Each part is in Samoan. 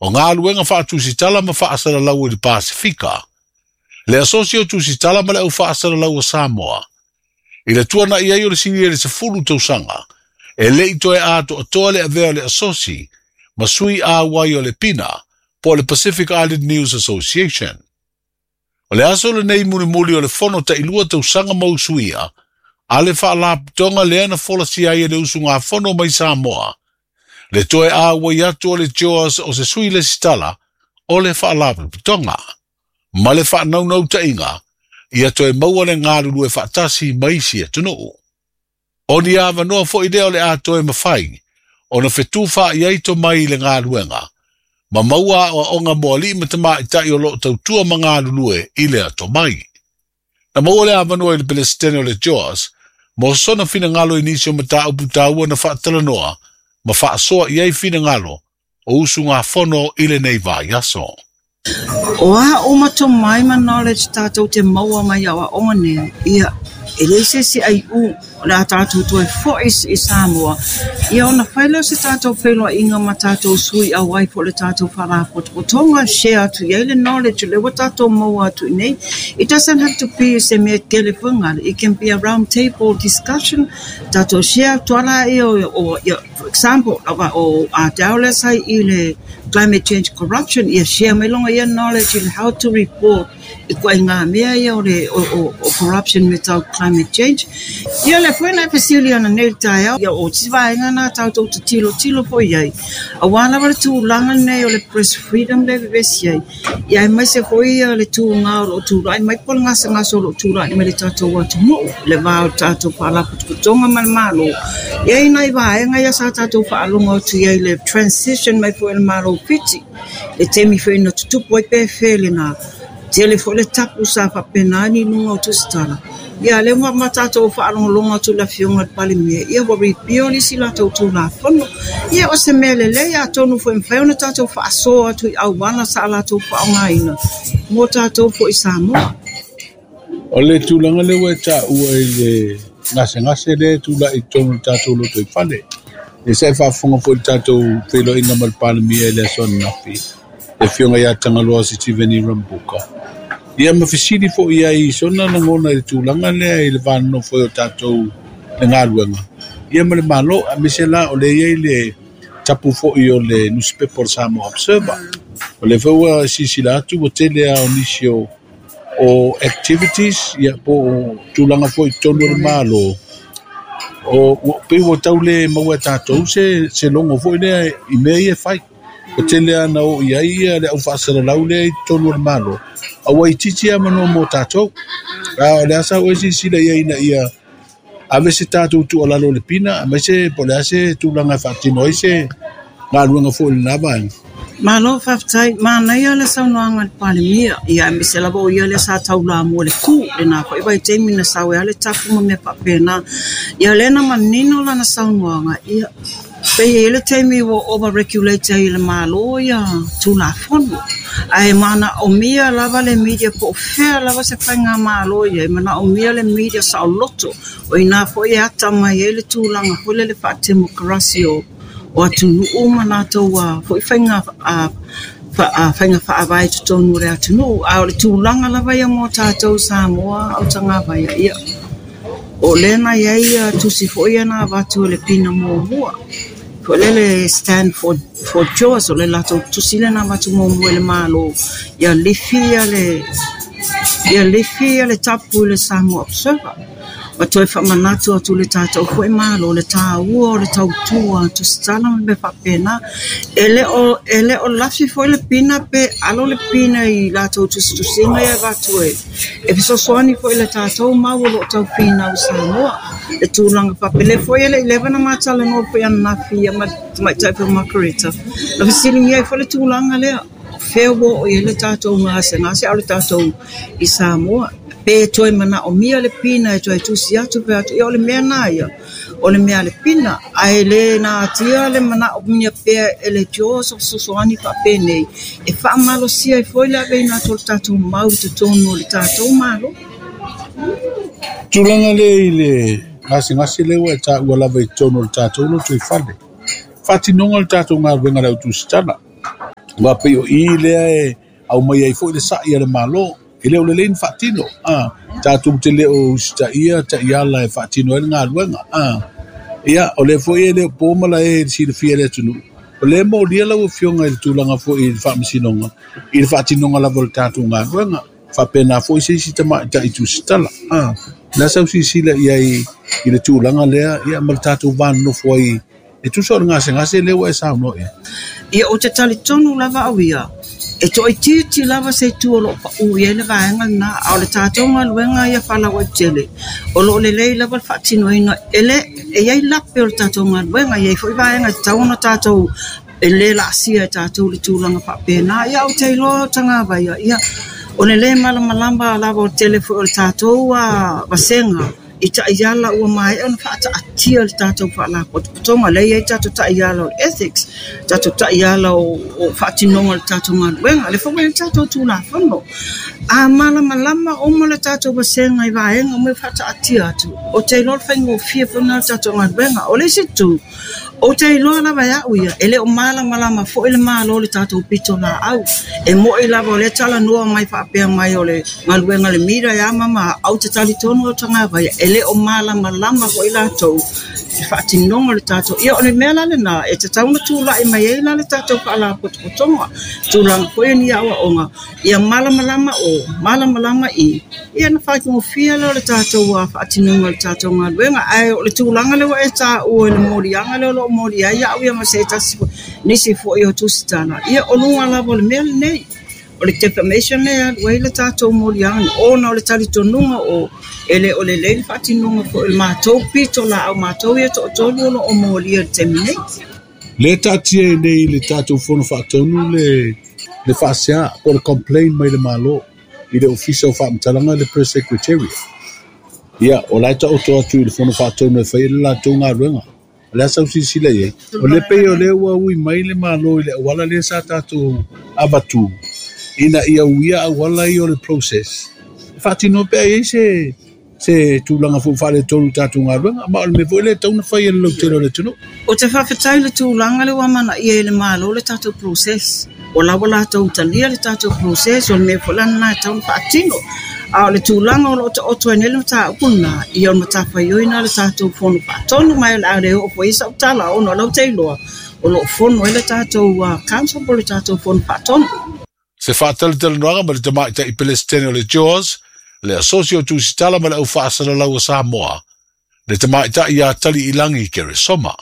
O galuega faatusitala ma faasalalau i le Pasefika, le Asosi o Tusitala ma le Au Faasalalau o Samoa, i le tuanai ai o le sili i le 10 tausaga, e le i toe atoatoa le avea o le Asosi ma sui auai o le PINA po o le Pacific Island News Association. O le aso lenei mulimuli o le fono tailua tausaga ma usuia, a le faalapotopotoga lea na folasia ai e le usugafono mai Samoa, le toe auai atu o le JOAS o se sui lesitala o le faalapotopotoga, ma le faanaunautaiga ia toe maua le galulue faatasi ma isi atunuu. O ni avanoa foi lea o le a toe mafai ona fetufaai ai tomai i le galuega, ma maua aoaoga mo alii ma tamaitai o loo tautua ma galulue i lea tomai. Na maua le avanoa i le Peresetene o le JOAS mo sona finagalo i nisi o mataupu taua na faatalanoa ma faasoa i ai finagalo o usugafono i lenei vaiaso. O a uma tomai ma knowledge tatou te maua mai aoaoga nei, ia, e leai se isi aiu o le a tatou toe foi i Samoa, ia ona fai lea o se tatou feiloaiga ma tatou sui auai po o le tatou faalapotopotoga, share atu i ai le knowledge lea ua tatou maua atu i nei. It doesn't have to be se mea tele foi ngale. It can be a round table discussion. Tatou share atu ala ia o, ia, for example, o Ardell lea sa i le climate change corruption, ia share mai longa ia knowledge in how to report i ituaiga mea ia o le o corruption me tau climate change. Ia le foi na fesili ana nei le taeao, ia o si vaega na tatou te tilotilo foi ai. Aua lava le tulaga nei o le press freedom le vevesi ai. Ia aemaise foi ia le tuga o loo tulai mai po o le gasegase o loo tulai mai le tatou atunuu, le va o le tatou faalapotopotoga ma le Malo. E i ai nai vaega ia sa tatou faalogo atu i ai le transition mai foi i le Malo Fiti, le taimi foi na tutupu ai pe fea lena. Tele foi le tapu sa faapena ni luga o tusitala. Ia lea ua ma tatou faalogologo atu i le afioga i le Palemia, ia ua repeal isi latou Tulafono. Ia o se mea lelei atonu foi e mafai ona tatou faasoa atu i auala sa latou faaaogaina mo tatou foi i Samoa. O le tulaga lea ua e taua i le gasegase lea e tulai i totonu o le tatou lotoifale. Ia sa e faafofoga foi i le tatou feiloaiga ma le Palemia i le aso ananafi, le afioga ia Tagaloa Sitiveni Rabuka. Ia ma fesili foi ai i sona lagona i le tulaga lea i le va nonofo ai o tatou le galuega ia ma le Malo, aemaise la o lea e i ai le tapu foi o le nusipepa o le Samoa Observer. O lea foi ua silasila atu ua tele lava o nisi o activities ia po o tulaga foi i totonu o le Malo, o pei ua tau le maua e tatou se logo foi lea i mea ia e fai. O tele lava na oo i ai ia le au faasalalau lea i totonu o le Malo, a ua itiiti lava manoa mo tatou. A o le a sa ua e silasila i ai ina ia ave se tatou tuualalo i le PINA, aemaise po o le a se tulaga e faatino ai se galuega foi i lena vaega. Malo faafetai, manaia le saunoaga a le Palemia, ia aemaise lava o ia lea sa taulamua le ku, lena foi vaitaimi na sau ai le tapu ma mea faapena. Ia lea na manino lana saunoaga, ia pei e i ai le taimi ua over-regulate ai e le Malo ia Tulafono. Ae manaomia lava le media po o fea lava se faigamalo i ai, manaomia le media saoloto. O i ina foi e ata mai ai le tulaga foi lele faatemokarasi o atunuu ma latou foi faiga faavae i totonu o le atunuu. A o le tulaga lava ia mo tatou Samoa o Tagavaia, ia o lea na i ai ia tusi foi ia na avatu e le PINA muamua. Foi lea le Stand for JOAS, o le latou tusi lea na avatu muamua e le Malo, ia lifi ia le tapu i le Samoa Observer. Ma toe faamanatu atu le tatou foi Malo le taua o le tautua tusitala ma mea faapena. E le o lafi foi le PINA pe alo le PINA i latou tusitusiga ia avatu e fesoasoani foi le tatou mau o loo tau finau i Samoa. Le tulaga faapele foi e le i leva na matalanoa foi ananafi ma tamaitai foi Margareta. Na fesiligia ai foi le tulaga lea. Fea ua oo i ai le tatou gasegase a o le tatou i Samoa. Pe toe manaomia le PINA e toe tusi atu pe atu. Ia o le mea na ia, o le mea a le PINA. Ae le natia le manaomia pea e le JOAS o fesoasoani faapenei e faamalosia ai foi le aveina atu o le tatou mau i totonu o le tatou Malo. Tulaga lea i le gasegase lea ua e taua lava i totonu o le tatou lotoifale. Faatinoga o le tatou galuega i le au tusitala. Aua pei o i lea e aumai ai foi le sa'i a le Malo, e le o lelei ona faatino, a, tatou te le o usitaia taiala e faatino ai le galuega, a. Ia, o lea foi e le o po malae i le silafia e le atunuu, o lea e molia lau Afioga i le tulaga foi i le Faamasinoga i le faatinoga lava o le tatou galuega. Faapena foi se isi tamaitai tusitala, a. O le a sau silasila i ai i le tulaga lea, ia, ma le tatou va nonofo ai E tusa o le gasegase lea ua e saunoa i ai. Ia, ou te talitonu lava au ia, e toaitiiti lava se itu o lo o pau i ai le vaega lena, a o le tatou galuega ia faalauaitele, o lo o lelei lava le faatinoina. E le, e i ai lape o le tatou galuega, e i ai foi vaega e tatau ona tatou, e le laasia e tatou le tulaga faapena. Ia, ou te iloa o Tagavaia, ia, o le le malamalama lava o le tele foi o le tatou vasega, i taiala ua maea ona faataatia e le tatou Faalapotopotoga. Lea e i ai tatou taiala o le ethics, tatou taiala o faatinoga o le tatou galuega, lea foi ua i ai le tatou Tulafono. A malamalama uma le tatou vasega i vaega uma e faataatia atu, ou te iloa o le faigofie foi lena o le tatou galuega. O le isi itu, Ou te iloa lava e au ia, e le o malamalama foi le Malo i le tatou pitolaau. E moni lava o lea e talanoa mai faapea mai o le galuega a le MIRA e a ma ma a, ou te talitonu au tagata ia, e le o malamalama foi latou i le faatinoga o le tatou. Ia o le mea la lena e tatau ona tulai mai ai la le tatou Faalapotopotoga, tulaga foi ia ni aoaoga Ia malamalama o, malamalama i, ia ona faigofie lea o le tatou faatinoina o le tatou galuega. Ae o le tulaga lea ua e taua i le moliaga lea o lo o molia ai au ia ma se tasi foi, nisi foi o tusitala, ia o luga lava o le mea lenei, o le defamation lea e alu ai le tatou moliaga ona o le talitonuga o e le o lelei le faatinoga foi o le matou pitolaau, matou ia toatolu o lo o molia i le taimi nei. Lea e taatia ai nei i le tatou Fono Faatonu le le faasea po o le complain mai le Malo i le Ofisa o Faamatalaga le Press Secretariat. Ia, o la e taoto atu i le Fono Faatonu e fai ai le latou galuega. O le a sau silasila i ai? O lea pei o lea ua ui mai le Malo i le auala lea sa tatou avatu ina ia uia auala ia o le process e faatino pea i ai se se tulaga foi faaletonu i tatou galuega, ma o le mea foi lea e tatau ona fai e le lautele o le atunuu. Ou te faafetai i le tulaga lea ua amanaia e le Malo le tatou process. Ua la ua latou talia le tatou process, o le mea foi la lena e tatau ona faatino. A o le tulaga o lo o taoto ai nei le mataupu lena, ia o le matafaioi lena a le tatou Fono Faatonu, ma o le a le oo foi i ai sau tala ona o la ou te iloa o lo o fono ai le tatou Council po o le tatou Fono Faatonu. Se faatalatalanoaga ma le Tamaitai Pelesitene o le JAWS, le Asosi o Tusitala ma le Au Faasalalau o Samoa, le Tamaitai ia Taliilangi Keresoma.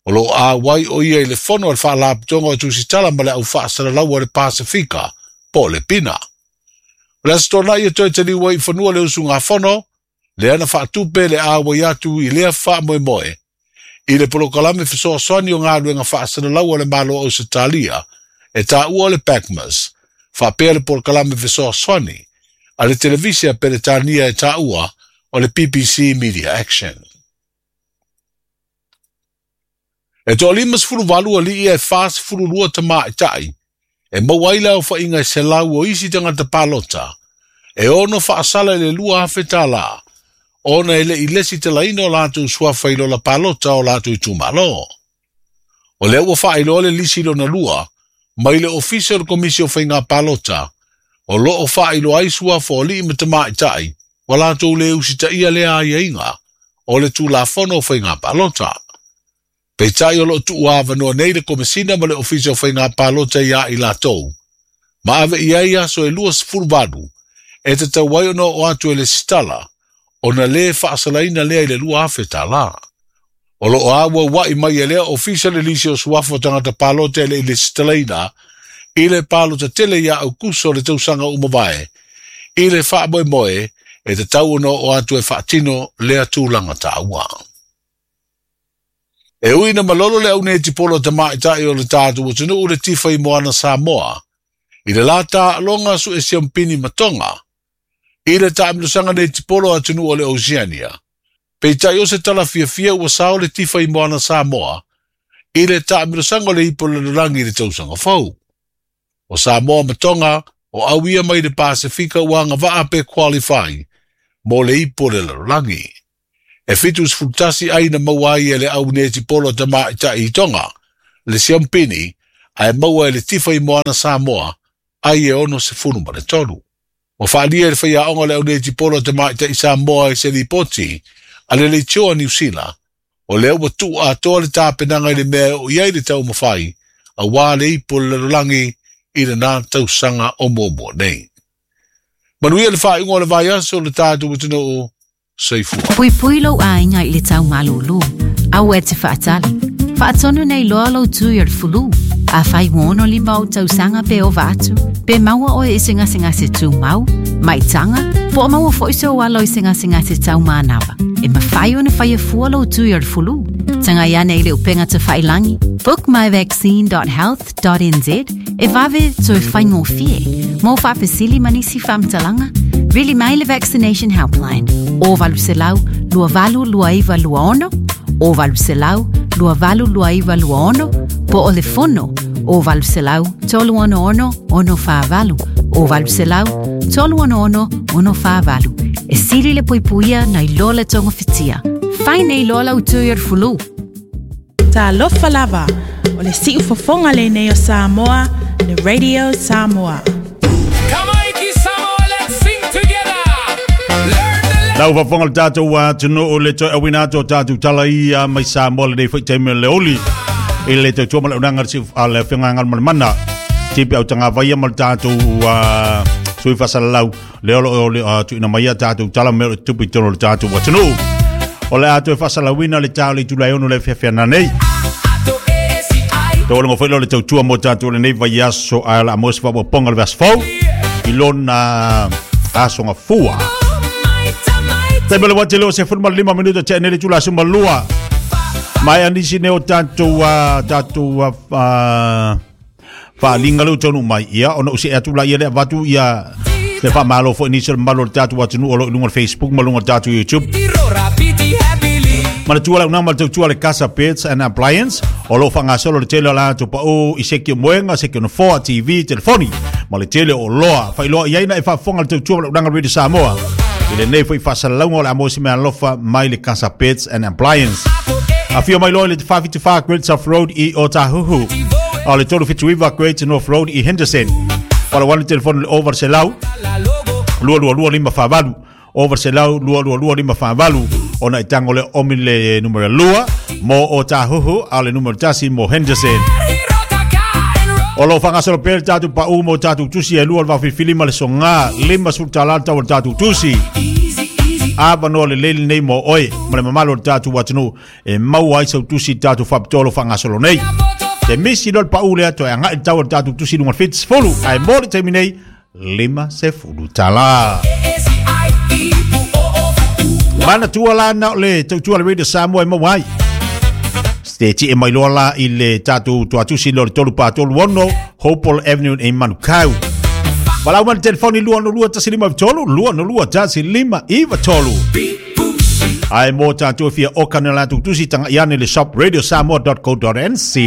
O lo o auai o ia i le fono a le Faalapotopotoga o Tusitala ma le Au Faasalalau o le Pasefika, po o le PINA. O le Aso Toonai e toe taliu ai i fanua le usugafono, lea na faatupe le auai atu i lea faamoemoe i le polokalame fesoasoani o galuega faasalalau a le Malo o Ausetalia e taua o le PACMAS, faapea le polokalame fesoasoani a le televise a Peretania e taua o le BBC Media Action. E toa-58 alii ae 42 tamaitai e maua ai le aofaiga e 100 o isi tagata palota e ono faasala i le $2,000 ona e le i lesitalaina o latou suafa i lola palota o latou itumalo. O lea ua faailoa le lisi lona lua mai le Ofisa o le Komisi o Faiga Palota o lo o faailoa ai suafa o alii ma tamaitai ua latou le usitaia lea aiaiga o le Tulafono o Faiga Palota. Peitai o lo o tuuavanoa nei le Komesina ma le Ofisa o Faiga Palota iā i latou, ma ave i ai aso e 28 e tatau ai ona oo atu e lesitala ona le faasalaina lea i le $2,000. O lo o auaua'i mai e lea Ofisa le lisi o suafa o tagata palota e le i lesitalaina i le palota tele iā Aukuso o le tausaga ua mavae, i le faamoemoe e tatau ona oo atu e faatino lea tulaga taua. E ui ina malolo le aunetipolo a tamaitai o le tatou atunuu le tifa i Moana Samoa i le la taaloga suesiampini ma Tonga i le taamilosaga netipolo a atunuu o le Oceania, peitai o se tala fiafia ua sao le tifa i Moana Samoa i le taamilosaga o le ipu o le lalolagi i le tausaga fou. O Samoa ma Tonga o au ia mai le Pasefika ua agavaa pe qualify mo le ipu o le lalolagi. E 71 ai na maua ai e le au netipolo tamaitai i Tonga, le siampini, ae maua e le Tifa i Moana Samoa ai e 63. Ua faaalia e le faiaoga o le au netipolo a tamaitai Samoa i se lipoti a le leitio a Niu Sila, o lea ua tuu atoa le tapenaga i le mea e oo i ai le taumafai auā le ipu o le lalolagi i lena tausaga o muamua nei. Manuia le faaiuga o le vaiaso le tatou atunuu. Soifua. Puipui lou aiga i le tau malūlū. Aua e te faatali. Faatonu nei loa lou tui o le fulu. Afai ua 65 ou tausaga pe ova atu, pe maua oe i se gasegase tumau, maitaga, po o maua foi sou alo i se gasegase tau manava, e mafai ona faia fua lou tui o le fulu. Tagai ane i le upega tafailagi, bookmyvaccine.health.nz, e vave toe faigofie. Mo faafesili ma nisi faamatalaga, vili mai le Vaccination Helpline o 800 2829 26 o 800 2829 26 po o le fono o 800 366 648 o 800 366 648. E sili le puipuia nai lo le togafitia. Fai nei loa lau tui o le fulu. Talofa lava, o le siufofoga lenei o Samoa, le Radio Samoa. Lau faafofoga le tatou atunuu le toe auina atu o tatou tala ia mai Samoa lenei foi taimi o le oli i le tautua ma le aunaga a le Afioga ia Galumalemana Tipi Autagavaia ma le tatou sui faasalalau lea o lo o tuuina mai a tatou tala mea o le tupu i totonu o le tatou atunuu. O le a toe faasalauina le ta o le itula e ono le fiafiana nei. Taualaga foi lea o le tautua mo tatou lenei vaiaso ae o le a maua se faaopoopoga o le vaiaso fou i lona aso gafua. Taimi o le wati leo se 15 minuta tea nei le itula 12. Mai anisi nei o tatou tatou faaaliga lea ua taunuu mai, ia ona ou see atu laia lea avatu ia le faamalo foi nisi o le mamalu o le tatou atunuu o lo o i luga o le Facebook ma luga o le tatou YouTube. Manatua lau nama le tautua le Casa Beds and Appliance o lo o faagasolo le tele o latou pau i seki o moega, seki o nofoa, TV, telefoni ma le tele o oloa. Faailoa i ai na e faafofoga le tautua ma le auaunaga Radio Samoa i lenei foi faasalalauga o le a maua se meaalofa mai le Casa Beds and Appliance. Afio mai loa i le 474 Great South Road i Otahuhu. A o le 379 Great North Road i Henderson. Pala wane telefoni le over selau 222 548 over selau 222 548 ona i tango le omi le numera 2 mo Otahuhu a o le numera 1 mo Henderson. O lo o faagasolo pea le tatou pau mo tatou tusi e lua le vaofilifili ma le soga 50 tala le tau o le tatou tusi. Avanoa lelei lenei mo oe ma le mamalu o le tatou atunuu e maua ai sau tusi i le tatou faapitoa o lo o faagasolo nei. Te misi loa le pau lea toe agai le tau o le tatou tusi i luga o le 70 ae mo le taimi nei 50 tala. Manatua la na o le tautua le Radio Samoa e maua ai. Te tie mai loa la i le tatou tuatusi lea o le 3 4 3 6 Hopewell Avenue i Manukau. Valaau mai le telefoni 262 153 262 153. Ae mo tatou e fia oka na latou tusi, taga'i ane le shop radiosamoa.co.nz.